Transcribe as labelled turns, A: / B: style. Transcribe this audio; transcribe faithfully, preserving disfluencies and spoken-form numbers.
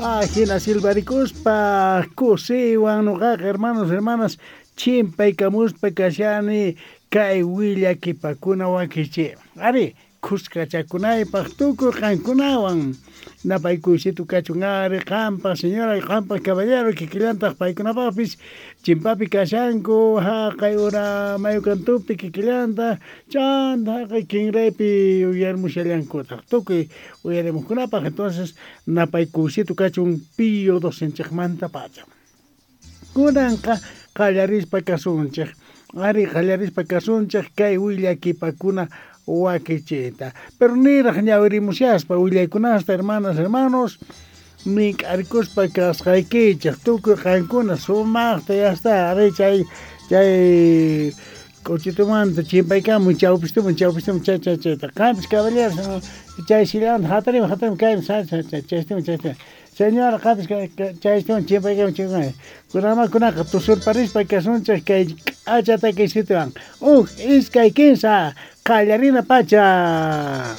A: Ajina silbarikuspa kusiywan noqaqa, hermanos, hermanas, chimpaykamuspa kashani kay willakipakuna wakichi. Ari, khuskachakunaypaq tukuy qankunawan. Napaykuysito kachun ari qanpaq, señora, qanpaq, caballero, kikillantaq paykunapaqpis chimpapi kashanku haqay ura mayukantupi kikillanta chanta haqay kinraypi uyarimushallankutaq tukuy uyarimuqkunapaq. Entonces napaykuysito kachun Pío docenchikmanta pacha. Kunanqa qallarispa kasunchik. Ari, qallarispa kasunchik kay willakipakuna wakichiyta. Pero niraq ñawirimushaspa willaykunasta, hermanas, hermanos, mink'arikuspa kasqaykichik tukuy qankuna sumaqta ya está. Ari, chay chay k'uchitumanta chimpaykamuy chawpistuman chawpistuman chay chay chayta. Qampis, caballeros, chay sillanta hatarimuy hatarimuy kayman chay chaystuman chaystuman. Señora, qampis chaystuman chimpaykamuy chimpaykamuy. Kunanma kunaqa tusurparispa kasunchik kay k'acha takiysituwan. Huk, iskay, kinsa, qallarina pacha.